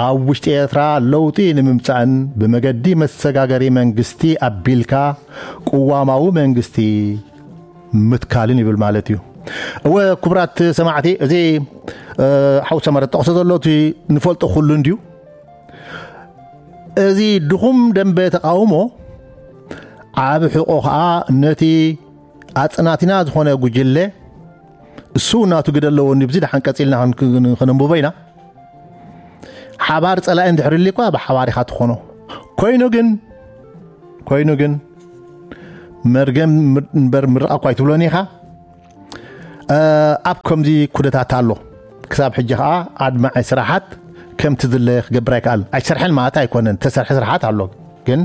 ኣብ ውሽጢ ኤርትራ ለውጢ ንምምጻእን ብመገዲ መሰጋገሪ መንግስቲ ኣቢልካ ቅዋማዊ መንግስቲ ምትካልን ይብል ማለት እዩ። እወ፣ ክቡራት ሰማዕቲ፣ እዚ ሓው ሰመረ ጠቕሶ ዘሎ እቲ ንፈልጦ ኩሉ እንድዩ። እዚ ድኹም ደንበ ተቃውሞ ኣብ ሕቆ ከኣ ነቲ ኣጽናቲና ዝኾነ ጉጅለ እሱ ናቱ ግደ ኣለዎ። ንብዚ ደሓን ቀጺልና ከነንብቦ ኢና። ሓባር ጸላኢ እንድሕር ሊኳ ብሓባር ኢኻ ትኾኖ። ኮይኑ ግን፣ ኮይኑ ግን መርገም እምበር ምርቓ እኳ ኣይትብሎን ኢኻ። ኣብ ከምዚ ኩነታት ኣሎ። ክሳብ ሕጂ ከኣ ኣድማዒ ስራሓት ከምቲ ዝለ ክገብር ኣይከኣል። ኣይሰርሐን ማለት ኣይኮነን። ተሰርሐ ስራሓት ኣሎ። ግን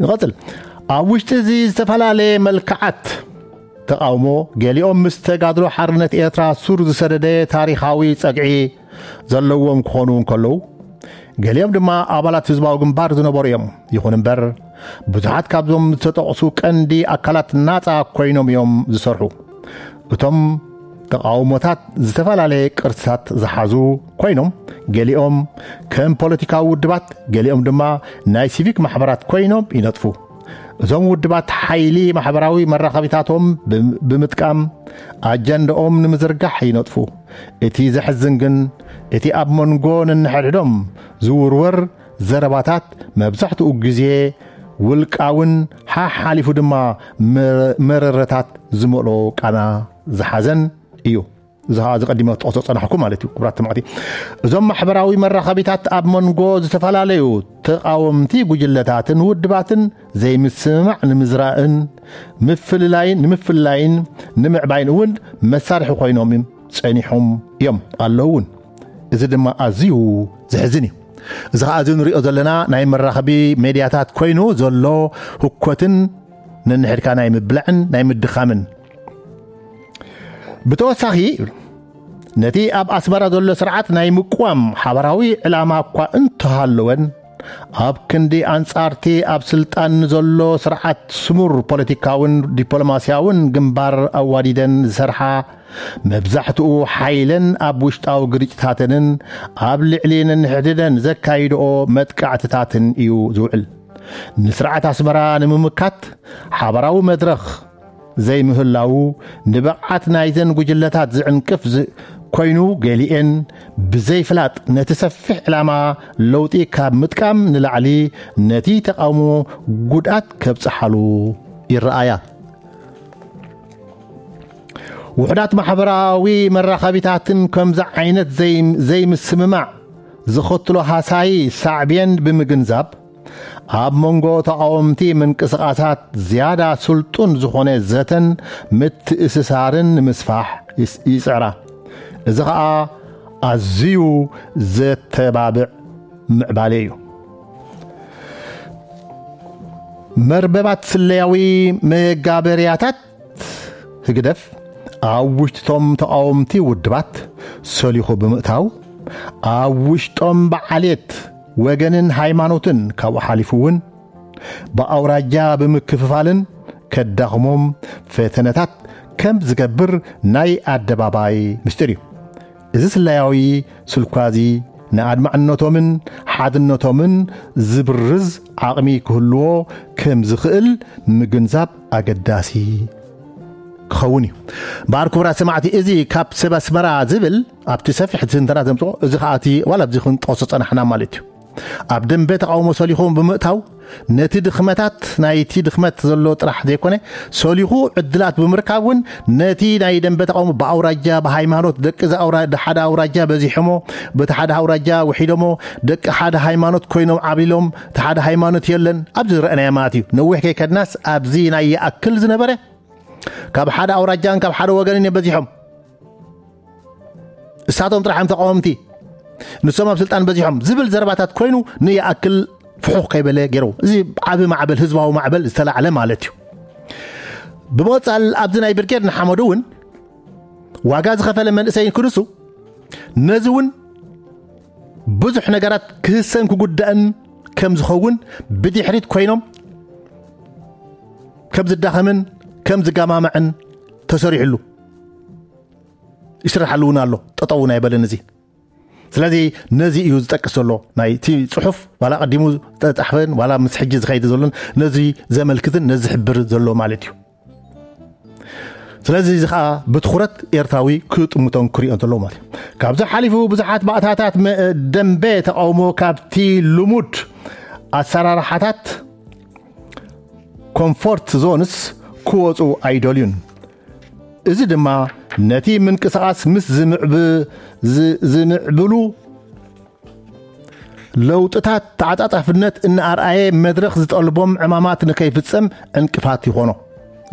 ንቐጽል። ኣብ ውሽጢ እዚ ዝተፈላለየ መልክዓት ተቓውሞ፣ ገሊኦም ምስ ተጋድሎ ሓርነት ኤርትራ ሱር ዝሰደደ ታሪኻዊ ጸግዒ ዘለዎም ክኾኑ እንከለዉ፣ ገሊኦም ድማ ኣባላት ህዝባዊ ግንባር ዝነበሩ እዮም። ይኹን እምበር፣ ብዙሓት ካብዞም ዝተጠቕሱ ቀንዲ ኣካላት ናጻ ኮይኖም እዮም ዝሰርሑ። እቶም ተቓውሞታት ዝተፈላለየ ቅርጽታት ዝሓዙ ኮይኖም፣ ገሊኦም ከም ፖለቲካዊ ውድባት፣ ገሊኦም ድማ ናይ ሲቪክ ማሕበራት ኮይኖም ይነጥፉ። እዞም ውድባት ሓይሊ ማሕበራዊ መራኸቢታቶም ብም-፣ ብምጥቃም ኣጀንዳኦም ንምዝርጋሕ ይነጥፉ። እቲ ዘሕዝን ግን፣ እቲ ኣብ መንጎ ነንሕድሕዶም ዝውርወር ዘረባታት መብዛሕትኡ ግዜ ውልቃውን ሓሓሊፉ ድማ መረ-፣ መረረታት ዝመልኦ ቃና ዝሓዘን እዩ። እዚ ኸኣ ዝቐዲመ ክጠቕሶ ጸናሕኩ ማለት እዩ። ክቡራት ሰማዕቲ፣ እዞም ማሕበራዊ መራኸቢታት ኣብ መንጎ ዝተፈላለዩ ተቓወምቲ ጉጅለታትን ውድባትን ዘይምስምማዕ ንምዝራእን ምፍልላይን፣ ንምፍልላይን ንምዕባይን እውን መሳርሒ ኮይኖም ጸኒሖም እዮም፣ ኣለዉ እውን። እዚ ድማ ኣዝዩ ዘሕዝን እዩ። እዚ ኸኣ እዚ ንሪኦ ዘለና ናይ መራኸቢ ሜድያታት ኮይኑ ዘሎ ህኮትን ነንሕድካ ናይ ምብላዕን ናይ ምድኻምን። ብተወሳኺ፣ ነቲ ኣብ ኣስመራ ዘሎ ስርዓት ናይ ምቅዋም ሓባራዊ ዕላማ እኳ እንተሃለወን፣ ኣብ ክንዲ ኣንጻርቲ ኣብ ስልጣን ንዘሎ ስርዓት ስሙር ፖለቲካውን ዲፕሎማስያውን ግንባር ኣዋዲደን ዝሰርሓ፣ መብዛሕትኡ ሓይለን ኣብ ውሽጣዊ ግርጭታተንን ኣብ ልዕሊ ነንሕድሕደን ዘካይድኦ መጥቃዕትታትን እዩ ዝውዕል። ንስርዓት ኣስመራ ንምምካት ሓባራዊ መድረኽ ዘይምህላዉ፣ ንብቕዓት ናይዘን ጉጅለታት ዝዕንቅፍ ዝ-፣ ኮይኑ፣ ገሊኤን ብዘይፍላጥ ነቲ ሰፊሕ ዕላማ ለውጢ ካብ ምጥቃም ንላዕሊ ነቲ ተቓውሞ ጉድኣት ከብጽሓሉ ይረኣያ። ውሑዳት ማሕበራዊ መራኸቢታትን ከምዚ ዓይነት ዘይ-፣ ዘይምስምማዕ ዘኸትሎ ሃሳዪ ሳዕቤን ብምግንዛብ፣ ኣብ መንጎ ተቓወምቲ ምንቅስቓሳት ዝያዳ ስልጡን ዝኾነ ዘተን ምትእስሳርን ንምስፋሕ ይስ-፣ ይጽዕራ። እዚ ኸኣ ኣዝዩ ዘተባብዕ ምዕባለ እዩ። መርበባት ስለያዊ መጋበርያታት ህግደፍ ኣብ ውሽጥቶም ተቓወምቲ ውድባት ሰሊኹ ብምእታው፣ ኣብ ውሽጦም ብዓሌት፣ ወገንን ሃይማኖትን፣ ካብኡ ሓሊፉ እውን ብኣውራጃ ብምክፍፋልን ከዳኽሞም ፈተነታት ከም ዝገብር ናይ ኣደባባይ ምስጢር እዩ። እዚ ስለያዊ ስልኳዚ ንኣድማዕነቶምን ሓድነቶምን ዝብርዝ ዓቕሚ ክህልዎ ከም ዝኽእል ምግንዛብ ኣገዳሲ ክኸውን እዩ። እምበኣር ክቡራት ሰማዕቲ፣ እዚ ካብ ሰብ ኣስመራ ዝብል ኣብቲ ሰፊሕ ትንተና ዘምጽኦ፣ እዚ ኸኣ እቲ ዋላ ኣብዚ ክንጠቕሶ ጸናሕና ማለት እዩ። ኣብ ደንበ ተቃውሞ ሰሊኹም ብምእታው ነቲ ድኽመታት ናይቲ ድኽመት ዘሎ ጥራሕ ዘይኮነ፣ ሰሊኹ ዕድላት ብምርካብ እውን ነቲ ናይ ደንበ ተቃውሞ ብኣውራጃ ብሃይማኖት፣ ደቂ እዚ ኣውራ- ሓደ ኣውራጃ በዚሖሞ፣ በቲ ሓደ ኣውራጃ ውሒዶሞ፣ ደቂ ሓደ ሃይማኖት ኮይኖም ዓብሊሎም፣ እቲ ሓደ ሃይማኖት የለን። ኣብዚ ዝረአናዮ ማለት እዩ። ነዊሕ ከይከድናስ ኣብዚ ናይ ይኣክል ዝነበረ ካብ ሓደ ኣውራጃን ካብ ሓደ ወገንን እዮም በዚሖም። እሳቶም ጥራሕ እዮም ተቃወምቲ፣ ንሶም ኣብ ስልጣን በዚሖም ዝብል ዘረባታት ኮይኑ ንይኣክል ፍሑኽ ከይበለ ገይሩ። እዚ ዓቢ ማዕበል፣ ህዝባዊ ማዕበል ዝተላዕለ ማለት እዩ። ብመጻል ኣብዚ ናይ ብርጌድ ንሓመዱ እውን ዋጋ ዝኸፈለ መንእሰይ ክንሱ፣ ነዚ እውን ብዙሕ ነገራት ክህሰን ክጉዳእን ከም ዝኸውን ብድሕሪት ኮይኖም ከም ዝዳኸምን ከም ዝጋማምዕን ተሰሪሕሉ ይስራሓሉ እውን ኣሎ። ጠጠው እውን ኣይበለን እዚ። ስለዚ ነዚ እዩ ዝጠቅስ ዘሎ ናይቲ ጽሑፍ፣ ዋላ ቀዲሙ ዝተጻሕፈን ዋላ ምስ ሕጂ ዝኸይድ ዘሎን ነዚ ዘመልክትን ነዚ ዝሕብር ዘሎ ማለት እዩ። ስለዚ እዚ ኸኣ ብትኹረት ኤርትራዊ ክጥምቶን ክሪኦን ዘለዎ ማለት እዩ። ካብዚ ሓሊፉ ብዙሓት ባእታታት መ- ደንበ ተቃውሞ ካብቲ ልሙድ ኣሰራርሓታት ኮምፎርት ዞንስ ክወጹ ኣይደልዩን። እዚ ድማ ነቲ ምንቅስቃስ ምስ ዝምዕብ- ዝ- ዝምዕብሉ ለውጥታት ተዓጻጻፍነት እናኣርኣየ መድረኽ ዝጠልቦም ዕማማት ንከይፍጸም ዕንቅፋት ይኾኖ።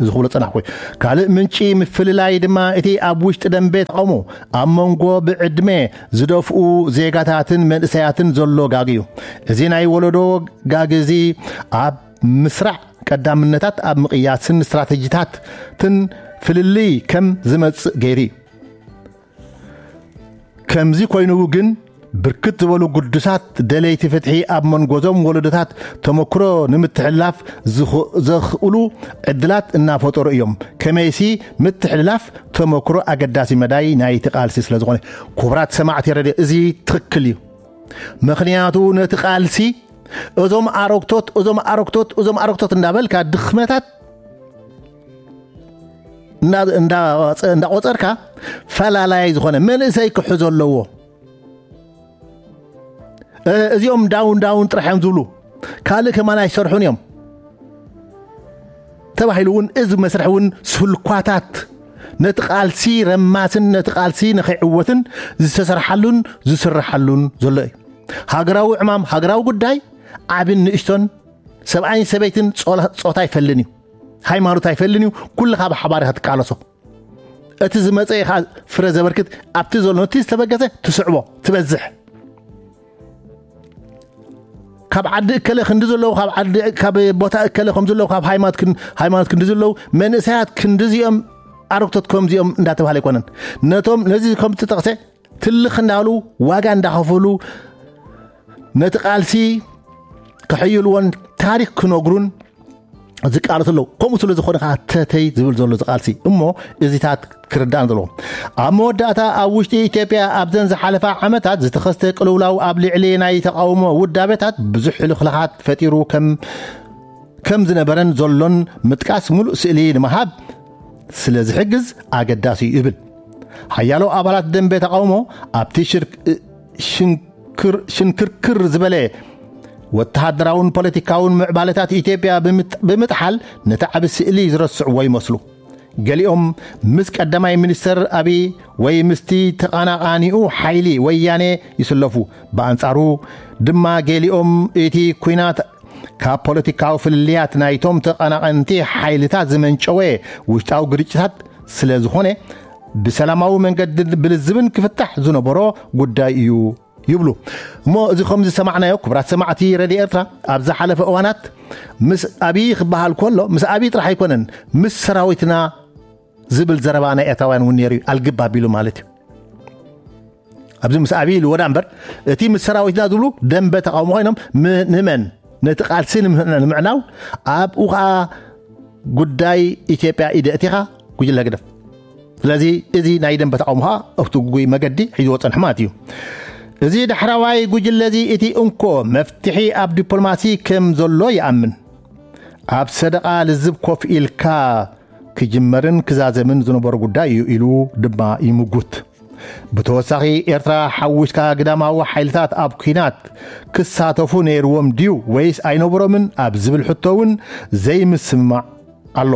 እዚ ክብሎ ጸናሕኩ። ካልእ ምንጪ ምፍልላይ ድማ እቲ ኣብ ውሽጢ ደንበ ተቃውሞ ኣብ መንጎ ብዕድመ ዝደፍኡ ዜጋታትን መንእሰያትን ዘሎ ጋግ እዩ። እዚ ናይ ወለዶ ጋግ እዚ ኣብ ምስራዕ ቀዳምነታት ኣብ ምቕያስን ስትራተጂታትን ፍልልይ ከም ዝመጽእ ገይሩ እዩ። ከምዚ ኮይኑ ግን ብርክት ዝበሉ ግዱሳት ደለይቲ ፍትሒ ኣብ መንጎዞም ወለዶታት ተመክሮ ንምትሕልላፍ ዝኽ- ዘኽእሉ ዕድላት እናፈጠሩ እዮም። ከመይሲ ምትሕልላፍ ተመክሮ ኣገዳሲ መዳይ ናይቲ ቃልሲ ስለ ዝኾነ። ክቡራት ሰማዕቲ ረድዮ፣ እዚ ትኽክል እዩ። ምኽንያቱ ነቲ ቃልሲ እዞም ኣረግቶት፣ እዞም ኣረግቶት፣ እዞም ኣረግቶት እንዳበልካ ድኽመታት እንዳ- እንዳ- እንዳቆጸርካ ፈላላይ ዝኾነ መንእሰይ ክሕዞ ኣለዎ። እ- እዚኦም ዳውን ዳውን ጥራሕ እዮም ዝብሉ፣ ካልእ ከማን ኣይሰርሑን እዮም ተባሂሉ እውን እዚ መስርሕ እውን ስልኳታት ነቲ ቃልሲ ረማስን ነቲ ቃልሲ ንኸይዕወትን ዝተሰርሓሉን ዝስርሓሉን ዘሎ እዩ። ሃገራዊ ዕማም፣ ሃገራዊ ጉዳይ ዓብን ንእሽቶን፣ ሰብኣይን ሰበይትን ጾላ- ጾታ ኣይፈልን እዩ፣ ሃይማኖት ኣይፈልን እዩ። ኩልኻ ብሓባር ኢኻ ትቃለሶ። እቲ ዝመጸ ኢኻ ፍረ ዘበርክት። ኣብቲ ዘሎ ነቲ ዝተበገሰ ትስዕቦ ትበዝሕ። ካብ ዓዲ እከለ ክንዲ ዘለዉ፣ ካብ ዓዲ ካብ ቦታ እከለ ከም ዘለዉ፣ ካብ ሃይማኖት ክን- ሃይማኖት ክንዲ ዘለዉ መንእሰያት ክንዲ እዚኦም ኣረግቶት ከምዚኦም እንዳተባሃለ ኣይኮነን። ነቶም ነዚ ከም ትጠቕሰ ትልኽ እንዳሉ ዋጋ እንዳኸፈሉ ነቲ ቃልሲ ከሕይልዎን ታሪክ ክነግሩን ዝቃለሱ ኣለዉ። ከምኡ ስለ ዝኾነ ከዓ ተተይ ዝብል ዘሎ ዝቃልሲ እሞ እዚታት ክርዳእን ዘለዎ። ኣብ መወዳእታ ኣብ ውሽጢ ኢትዮጵያ ኣብዘን ዝሓለፋ ዓመታት ዝተኸስተ ቅልውላው ኣብ ልዕሊ ናይ ተቃውሞ ውዳቤታት ብዙሕ ሕልኽላኻት ፈጢሩ ከም ከም ዝነበረን ዘሎን ምጥቃስ ሙሉእ ስእሊ ንምሃብ ስለ ዝሕግዝ ኣገዳሲ እዩ ይብል። ሓያሎ ኣባላት ደንበ ተቃውሞ ኣብቲ ሽርክ- ሽንክር- ሽንክርክር ዝበለ ወተሃደራውን ፖለቲካውን ምዕባለታት ኢትዮጵያ ብምጥ- ብምጥሓል ነቲ ዓቢ ስእሊ ዝረስዕዎ ይመስሉ። ገሊኦም ምስ ቀዳማይ ሚኒስተር ኣብይ ወይ ምስቲ ተቐናቓኒኡ ሓይሊ ወያኔ ይስለፉ። ብኣንጻሩ ድማ ገሊኦም እቲ ኲናት ካብ ፖለቲካዊ ፍልልያት ናይቶም ተቐናቐንቲ ሓይልታት ዝመንጨወ ውሽጣዊ ግርጭታት ስለ ዝኾነ ብሰላማዊ መንገዲ ብልዝብን ክፍታሕ ዝነበሮ ጉዳይ እዩ ይብሉ። እሞ እዚ ከም ዝሰማዕናዮ ክቡራት ሰማዕቲ ረድዮ ኤርትራ ኣብ ዝሓለፈ እዋናት ምስ ኣብይ ክበሃል ከሎ ምስ ኣብይ ጥራሕ ኣይኮነን ምስ ሰራዊትና ዝብል ዘረባ ናይ ኤርትራውያን እውን ነይሩ እዩ። ኣልግብ ኣቢሉ ማለት እዩ። ኣብዚ ምስ ኣብይ ኢልዎ ዳ እምበር እቲ ምስ ሰራዊትና ዝብሉ ደንበ ተቃውሞ ኮይኖም ም- ንመን ነቲ ቃልሲ ንምህና- ንምዕናው ኣብኡ ከዓ ጉዳይ ኢትዮጵያ ኢደ እቲኻ ጉጅለ ህግደፍ። ስለዚ እዚ ናይ ደንበ ተቃውሞ ከዓ ኣብቲ ጉጉይ መገዲ ሒዝዎ ጸንሑ ማለት እዩ። እዚ ዳሕራዋይ ጉጅለ እዚ እቲ እንኮ መፍትሒ ኣብ ዲፕሎማሲ ከም ዘሎ ይኣምን። ኣብ ሰደቓ ልዝብ ኮፍ ኢልካ ክጅመርን ክዛዘምን ዝነበሮ ጉዳይ እዩ ኢሉ ድማ ይምጉት። ብተወሳኺ፣ ኤርትራ ሓዊስካ ግዳማዊ ሓይልታት ኣብ ኲናት ክሳተፉ ነይርዎም ድዩ ወይስ ኣይነበሮምን ኣብ ዝብል ሕቶ እውን ዘይምስምማዕ ኣሎ።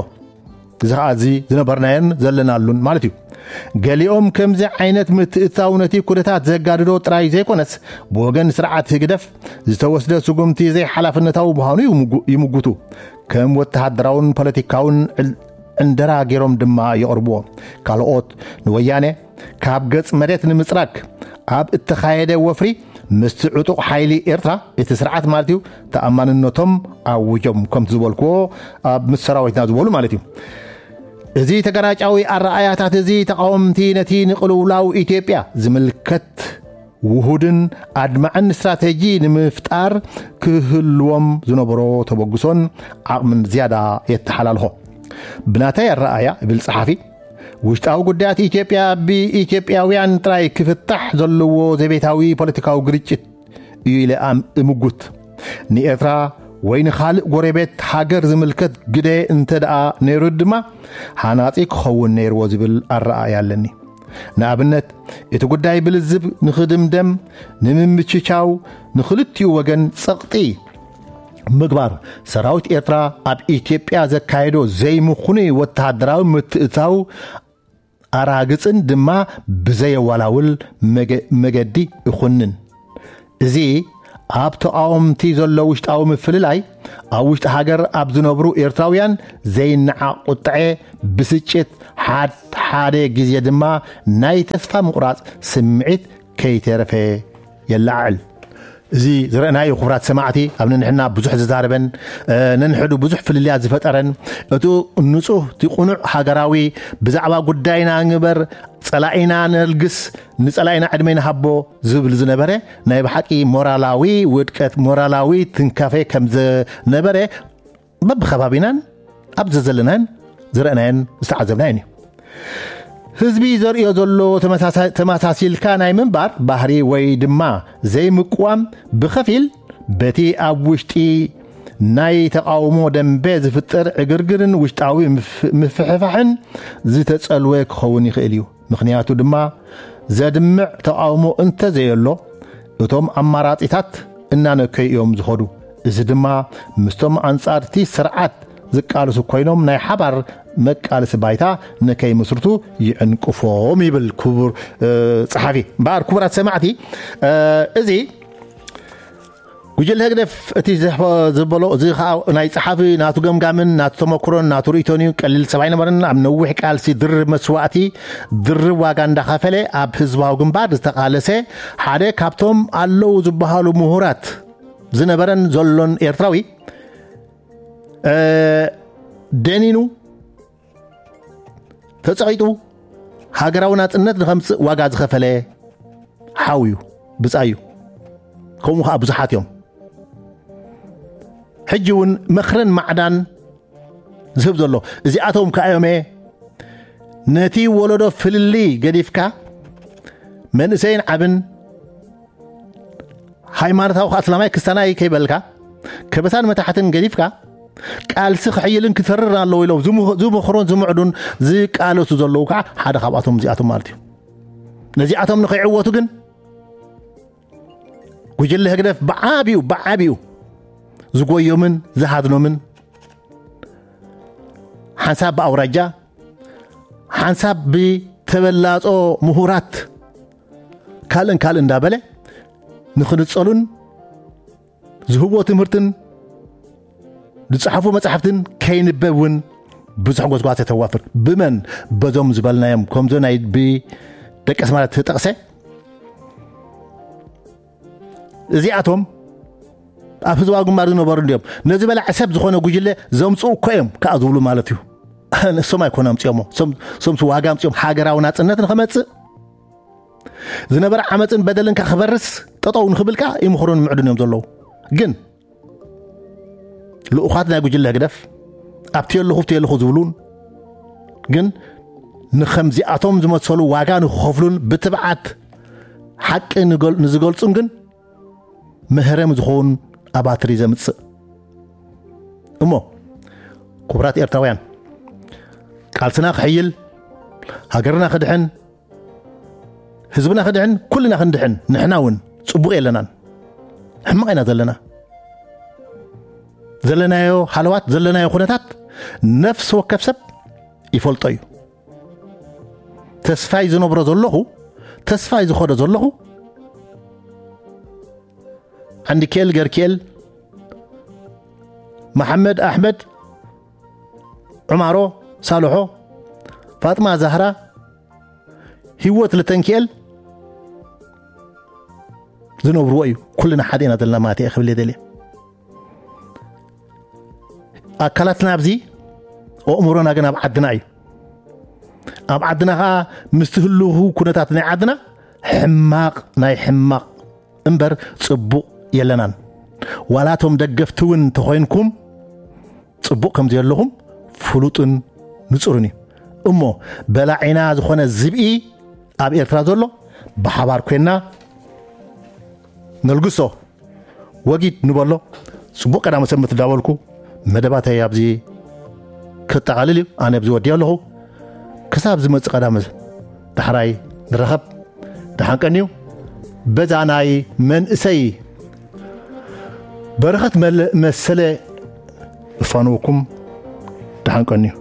እዚ ኸዓ እዚ ዝነበርናዮን ዘለናሉን ማለት እዩ። ገሊኦም ከምዚ ዓይነት ምትእትታው ነቲ ኩነታት ዘጋድዶ ጥራይ ዘይኮነስ፣ ብወገን ስርዓት ህግደፍ ዝተወስደ ስጉምቲ ዘይሓላፍነታዊ ምዃኑ ይምጉ-፣ ይምጉቱ። ከም ወተሃደራውን ፖለቲካውን ዕል-፣ ዕንደራ ገይሮም ድማ የቕርብዎ። ካልኦት ንወያነ ካብ ገጽ መሬት ንምጽራግ ኣብ እተኻየደ ወፍሪ ምስቲ ዕጡቕ ሓይሊ ኤርትራ፣ እቲ ስርዓት ማለት እዩ፣ ተኣማንነቶም ኣውጆም፣ ከምቲ ዝበልክዎ፣ ኣብ ምስ ሰራዊትና ዝበሉ ማለት እዩ። እዚ ተገራጫዊ ኣረኣያታት እዚ ተቓወምቲ ነቲ ንቕልውላው ኢትዮጵያ ዝምልከት ውሁድን ኣድማዕን ስትራተጂ ንምፍጣር ክህልዎም ዝነበሮ ተበግሶን ዓቕምን ዝያዳ የተሓላልኾ። ብናተይ ኣረኣያ፣ ይብል ጸሓፊ፣ ውሽጣዊ ጉዳያት ኢትዮጵያ ብኢትዮጵያውያን ጥራይ ክፍታሕ ዘለዎ ዘቤታዊ ፖለቲካዊ ግርጭት እዩ ኢለ ኣም-፣ እምጉት። ንኤርትራ ወይ ንኻልእ ጎረቤት ሃገር ዝምልከት ግደ እንተ ደኣ ነይሩ ድማ፣ ሃናጺ ክኸውን ነይርዎ ዝብል ኣረኣእያ ኣለኒ። ንኣብነት፣ እቲ ጉዳይ ብልዝብ ንኽድምደም፣ ንምምችቻው፣ ንኽልቲኡ ወገን ጸቕጢ ምግባር፣ ሰራዊት ኤርትራ ኣብ ኢትዮጵያ ዘካየዶ ዘይምኹኑይ ወተሃደራዊ ምትእትታው ኣራግጽን ድማ ብዘየወላውል መገ-፣ መገዲ ይኹንን። እዚ ኣብ ተቓወምቲ ዘሎ ውሽጣዊ ምፍልላይ፣ ኣብ ውሽጢ ሃገር ኣብ ዝነብሩ ኤርትራውያን ዘይነዓቕ ቁጥዐ፣ ብስጭት፣ ሓድ ሓደ ግዜ ድማ ናይ ተስፋ ምቑራጽ ስምዒት ከይተረፈ የለዓዕል። እዚ ዝረእናዮ፣ ክቡራት ሰማዕቲ፣ ኣብ ነንሕና ብዙሕ ዝዛረበን፣ እ፣ ነንሕዱ ብዙሕ ፍልልያት ዝፈጠረን፣ እቱ ንጹህ፣ እቲ ቁኑዕ ሃገራዊ፣ ብዛዕባ ጉዳይና ንግበር፣ ጸላኢና ነልግስ፣ ንጸላኢና ዕድመ ንሃቦ ዝብል ዝነበረ፣ ናይ ብሓቂ ሞራላዊ ውድቀት፣ ሞራላዊ ትንካፈ ከም ዝነበረ በብኸባቢናን ኣብ ዘዘለናን ዝረእናዮን ዝተዓዘብናዮን እዩ። ህዝቢ ዘርእዮ ዘሎ ተመሳሳ-፣ ተመሳሲልካ ናይ ምንባር ባህሪ ወይ ድማ ዘይምቅዋም ብኸፊል በቲ ኣብ ውሽጢ ናይ ተቓውሞ ደንበ ዝፍጠር ዕግርግርን ውሽጣዊ ምፍ-፣ ምፍሕፋሕን ዝተጸልወ ክኸውን ይኽእል እዩ። ምኽንያቱ ድማ ዘድምዕ ተቓውሞ እንተዘየሎ፣ እቶም ኣማራጺታት እናነከዩ እዮም ዝኸዱ። እዚ ድማ ምስቶም ኣንጻርቲ ስርዓት ዝቃለሱ ኮይኖም ናይ ሓባር መቃለሲ ባይታ ንከይምስርቱ ይዕንቅፎም ይብል ክቡር፣ እ፣ ጸሓፊ። እምበኣር ክቡራት ሰማዕቲ፣ እ፣ እዚ ጉጅለ ህግደፍ እቲ ዘሕፈ-፣ ዝበሎ፣ እዚ ኸኣ ናይ ጸሓፊ ናቱ ገምጋምን ናቱ ተመክሮን ናቱ ርእይቶን እዩ። ቀሊል ሰብ ኣይነበረን። ኣብ ነዊሕ ቃልሲ ድርብ መስዋእቲ፣ ድርብ ዋጋ እንዳኸፈለ ኣብ ህዝባዊ ግንባር ዝተቓለሰ ሓደ ካብቶም ኣለዉ ዝበሃሉ ምሁራት ዝነበረን ዘሎን ኤርትራዊ፣ እ፣ ደኒኑ ተጸቒጡ ሃገራዊ ናጽነት ንኸምጽእ ዋጋ ዝኸፈለ ሓው እዩ፣ ብጻይ እዩ። ከምኡ ኸኣ ብዙሓት እዮም። ሕጂ እውን ምኽርን ማዕዳን ዝህብ ዘሎ እዚኣቶም ከኣ እዮም። ነቲ ወለዶ ፍልልይ ገዲፍካ፣ መንእሰይን ዓብን፣ ሃይማኖታዊ ኸኣ እስላማይ ክስታናይ ከይበልካ፣ ከበሳን መታሕትን ገዲፍካ፣ ቃልሲ ክሕይልን ክተርርን ኣለዎ ኢሎም ዝምህ-፣ ዝምኽሩን ዝምዕዱን ዝቃለሱ ዘለዉ ከዓ ሓደ ካብኣቶም እዚኣቶም ማለት እዩ። ነዚኣቶም ንኸይዕወቱ ግን ጉጅለ ህግደፍ ብዓቢኡ፣ ብዓቢኡ ዝጎዮምን ዝሃድኖምን፣ ሓንሳብ ብኣውራጃ፣ ሓንሳብ ብተበላጾ ምሁራት፣ ካልእን ካልእን እንዳበለ ንኽንጸሉን ዝህቦ ትምህርትን ዝጸሓፉ መጻሕፍትን ከይንበብ እውን ብዙሕ ጎስጓስ የተዋፍር። ብመን? በዞም ዝበልናዮም፣ ከምዞ ናይ ብደቂ ኣስመራ ተጠቕሰ። እዚኣቶም ኣብ ህዝባዊ ግንባር ዝነበሩ እንዲዮም። ነዚ በላዕ ሰብ ዝኾነ ጉጅለ ዘምጽኡ እኮ እዮም ከኣ ዝብሉ ማለት እዩ። ንሶም ኣይኮነ ኣምጺኦሞ። ሶም፣ ሶምስ ዋጋ ኣምጺኦም ሃገራዊ ናጽነት ንኸመጽእ፣ ዝነበረ ዓመጽን በደልን ከኣ ክበርስ፣ ጠጠው ንኽብል ከኣ ይምኽሩን ምዕዱን እዮም ዘለዉ። ግን ልኡኻት ናይ ጉጅለ ህግደፍ ኣብቲ የለኹ፣ ኣብቲ የለኹ ዝብሉን፣ ግን ንኸምዚኣቶም ዝመሰሉ ዋጋ ንኽኸፍሉን ብትብዓት ሓቂ ንገል-፣ ንዝገልጹን ግን መህረሚ ዝኸውን ኣባትሪ ዘምጽእ። እሞ ክቡራት ኤርትራውያን፣ ቃልስና ክሕይል፣ ሃገርና ክድሕን፣ ህዝብና ክድሕን፣ ኩልና ክንድሕን፣ ንሕና እውን ጽቡቕ የለናን። ሕማቕ ኢና ዘለና። ዘለናዮ ሃለዋት፣ ዘለናዮ ኩነታት ነፍሲ ወከፍ ሰብ ይፈልጦ እዩ። ተስፋይ ዝነብሮ ዘለኹ፣ ተስፋይ ዝኸዶ ዘለኹ፣ ዓንዲኬል ገርኪኤል፣ መሓመድ ኣሕመድ፣ ዑማሮ ሳልሖ፣ ፋጥማ ዛህራ፣ ህይወት ልተንኪኤል ዝነብርዎ እዩ። ኩልና ሓደ ኢና ዘለና ማለት እየ ክብል እየ ደልየ። ኣካላትና ኣብዚ፣ ኣእምሮና ግን ኣብ ዓድና እዩ። ኣብ ዓድና ኸዓ ምስቲ ህልው ኩነታት ናይ ዓድና ሕማቕ ናይ ሕማቕ እምበር ጽቡቕ የለናን። ዋላ እቶም ደገፍቲ እውን ተኾይንኩም ጽቡቕ ከም ዘየለኹም ፍሉጥን ንጹርን እዩ። እሞ በላዒና ዝኾነ ዝብኢ ኣብ ኤርትራ ዘሎ ብሓባር ኮይንና ነልግሶ፣ ወጊድ ንበሎ። ጽቡቕ ቀዳመ ሰንበት እንዳበልኩ መደባተይ ኣብዚ ከጠቓልል እዩ። ኣነ ኣብዚ ወዲኦ ኣለኹ። ክሳብ ዝመጽእ ቀዳመ ዳሕራይ ንረኸብ። ደሓን ቀንዩ። በዛ ናይ መንእሰይ በረኸት መለ-፣ መሰለ እፋንወኩም። ደሓን ቀንዩ።